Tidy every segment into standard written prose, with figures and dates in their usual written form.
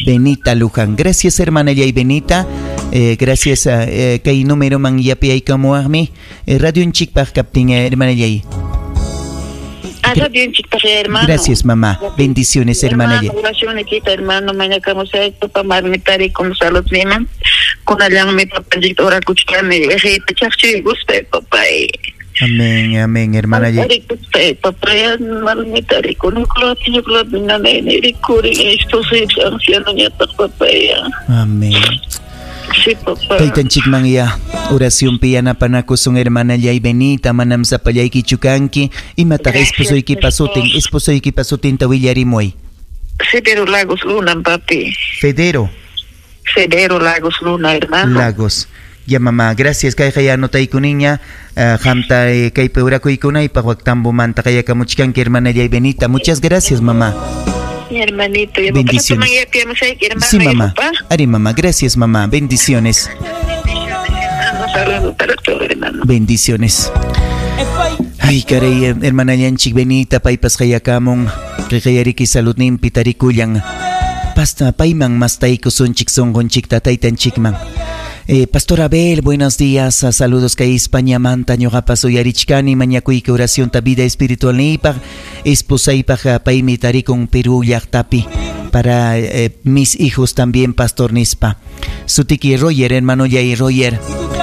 Benita Luján. Gracias, hermana Yay Benita. Gracias a kay número man yapiyaykamuwaqmi. Radionchikpaq kaptin, hermana Yay. Hermano. Gracias, mamá. Bendiciones, hermana. Hermano, hermano. Mañakamusayku pamarmi tarikum saludniman. Kunallanmi papanchikta orakuchkani. Chaqchuykuspa, papay. Amén, amén, hermana. Papay, malmi tarikun. Anciano ñataq, papay. Amén. Sí, papá. Taytanchikman ya oracionpi yanapanakusun, hermana Yay Benita, manam sapallaykichu kanki. Imataq esposoykipa sutin, esposoykipa sutinta willarimuy. Federo Lagos Luna, papi. Federo. Federo Lagos Luna, hermano. Lagos. Ya, mamá, gracias. Kayqa ya anotaykuninña. Qamta kaypi orakuykunaypaq waktambo-manta qayakamuchkanki, hermana Yay Benita. Muchas gracias, mamá. Mi hermanito, ya Bendiciones. hermano, Sí, mamá. papá. Ari, mamá, gracias, mamá. Bendiciones. Bendiciones, hermano. Saludos para todo, hermano. Bendiciones. Ay, caray, hermana Yanchik Benita, paypas qayakamun. Qeqayariki saludninpi tarikullan. Pasta payman mastaykusunchik sunqunchikta taytanchikman. Pastor Abel, buenos días. Saludos kay España manta ñuqapas uyarichkani mañakuyki oracionta vida espiritual niypaq esposaypaq paymi tarikun Perú llaqtapi para mis hijos también, pastor nispa. Sutiki Roger, hermano Yay Roger.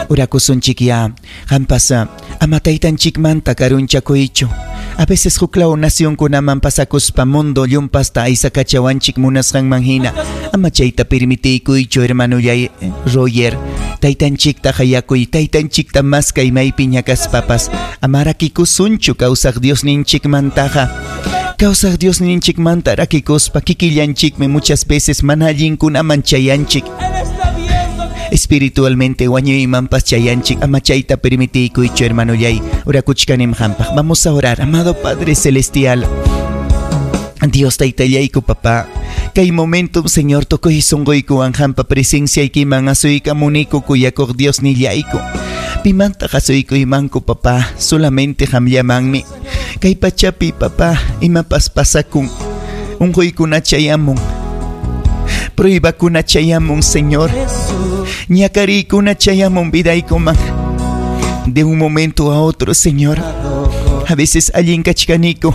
Orakusunchik ya. Qampas ama taytanchikmanta karunchakuychu. A veces huklaw nacionkunaman pasakuspa mundo llumpasta aysakachawanchik munasqanman hina. Ama chayta permitiykuychu, hermano Yay Roger. Taytanchikta hayakuy, taytanchikta maskay maypi ñakaspapas. Ama rakikusunchu kawsaq Diosninchikmantaqa. Kawsaq Diosninchikmanta rakikuspa kikillanchikmi muchas veces mana allinkunaman chayanchik. Espiritualmente wañuymanpas chayanchik. Ama chayta permitiykuychu, hermano Yay. Orakuchkanim hampaq. Vamos a orar, amado Padre Celestial. Dios taytallayku, papá. Kay momento, Señor, tukuy sunquykuwan hampa presenciaykiman asuykamuniku kuyakuq Dios nillayku. Pimanta asuykuymanku, papá, solamente hamllamanmi. Kay pachapi, papá, imapas pasakun. Unquykuna chayamun. Pruebakuna chayamun, Señor. Ñakariykuna chayamun vidaykuman. De un momento a otro, Señor. A veces allin kachkaniku.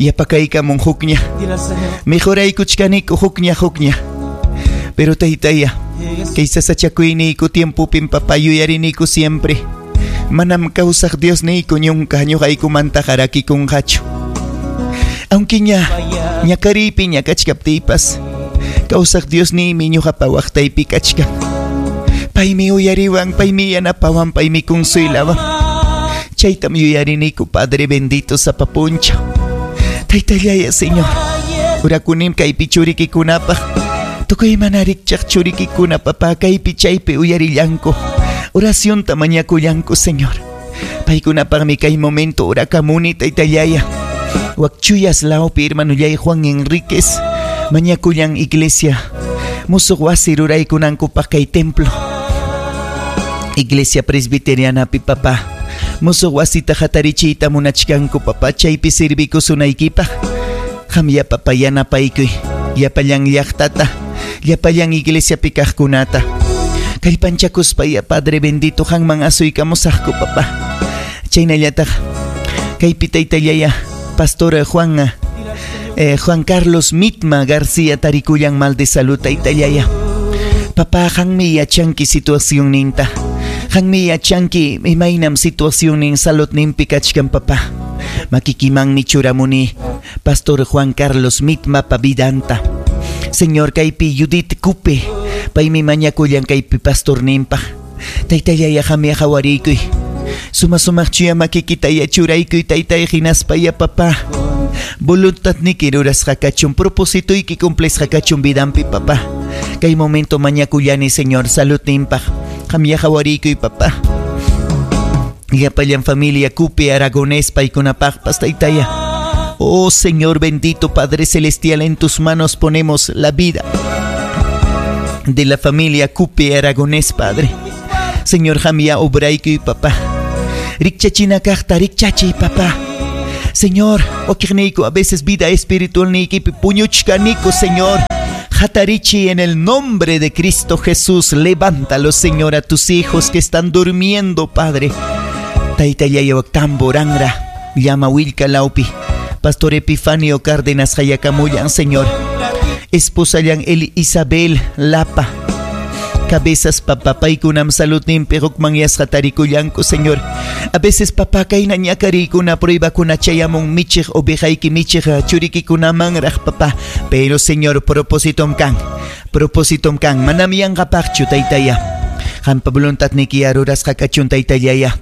Yapakaykamun hukña. Mejoraykuchkaniku hukña hukña. Pero taytaya, kay sasachakuyniyku tiempopim, papá, yuyariniku siempre. Manam kawsaq Dios niyku ñunka ñuqaykumanta harakikunqachu. Aunque ña ñakariypi ñakachkaptiypas, kawsaq Dios niymi ñuqapa waqtaypi kachkan. Paymi uyariwan, paymi yanapawan, paymi consuylawan. Chaytam yuyariniku, Padre bendito, sapa punchaw. Taytallaya, Señor. Urakunim kaypi churikikunapaq. Tukuy mana rikchaq churikikuna, papá, kaypi chaypi uyarillanku. Oracionta mañakullanku, Señor. Paykunapaqmi kay momento orakamuni, taytallaya. Wakchuyas lawpi, hermanullay Juan Enríquez. Mañakullan iglesia. Musuq wasi ruraykunankupaq kay templo. Iglesia presbiterianapi, papá. Musuq wasita hatarichiyta munachkanku, papá, chaypi servikusunaykipaq. Qamya, papá, yanapaykuy. Llapallan llaqtata, llapallan iglesiapi kaqkunata. Kallpanchakuspa ya, Padre bendito, qanman asuykamusaqku, papá. Chaynallataq kaypi taytallaya, Pastor Juan Carlos Mitma García tarikullan mal de salud, taytallaya. Papá, qanmi yachanki situacionninta. Qanmi yachanki imaynam situacionnin saludninpi kachkan, papá. Makikimanmi churamuni Pastor Juan Carlos Mitma pa vidanta. Señor, kaypi Judith Cupe, paymi mañakullan kaypi pastorninpaq. Taytallaya, qamya hawariykuy. Suma sumaq chuya makikita ya churaykuy, taytay, hinaspa ya, papá. Voluntadniki rurasqa kachun, propósitoyki cumplisqa kachun vidanpi, papá. Kay momento mañakullani, Señor, saludninpaq. Qamya hawariykuy, papá. Llapallan familia Cupe Aragonés paykunapaqpas, taytaya. Oh Señor bendito, Padre Celestial, en tus manos ponemos la vida de la familia Cupe Aragonés, Padre. Señor, qamya obraykuy, papá. Rikchachina kaqta, rikchachiy, papá. Señor, wakiqniyku a veces vida espiritual niykipi puñuchkaniku, Señor. Hatarichi en el nombre de Cristo Jesús. Levántalo, Señor, a tus hijos que están durmiendo, Padre. Taytallay tamborangra. Llama Wilka Laupi. Pastor Epifanio Cárdenas Hayakamullan, Señor. Esposallan El Isabel Lapa. Cabezas papá paykunam saludninpi hukmanyasqa tarikullanku, Señor. A veces papá kayna ñakariykuna pruebakuna chayamun michiq ovejayki michiq churikikunamanraq papá. Pero Señor, propositom kan. Propositom kan. Manam yanqapaqchu taytaya. Qampa voluntadniki rurasqa kachun taytallaya.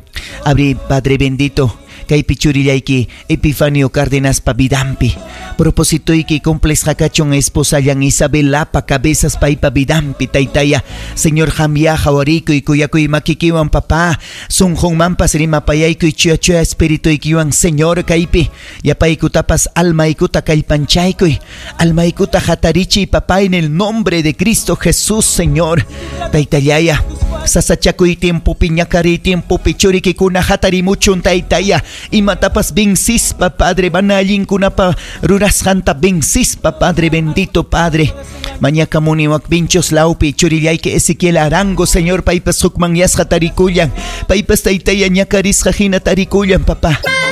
Abri Padre bendito. Kaypi churillayki Epifanio Cárdenas pa vidampi. Propositoyki cumplisqa kachun esposallan Isabel Lapa cabezas paypa vidampi taytaya. Señor qamya qawarikuy kuyakuy makikiwan papá. Sunqunmanpas rimapayaykuy chuya chuya espirituykiwan Señor kaypi. Yapaykutapas almaykuta kallpanchaykuy. Almaykuta hatarichiy papá en el nombre de Cristo Jesús, Señor. Taytallaya. Sasachakuy tiempopi ñakariy tiempopi churikikuna hatarimuchun taytaya. Imatapas vencispa Padre, mana allinkunapa rurasqanta vencispa Padre bendito Padre. Mañakamuni wak vinchos lawpi churillayki Ezequiel Arango Señor paypas hukmanyasqa tarikullan. Paypas taytaya ñakarisqa hina tarikullan papá.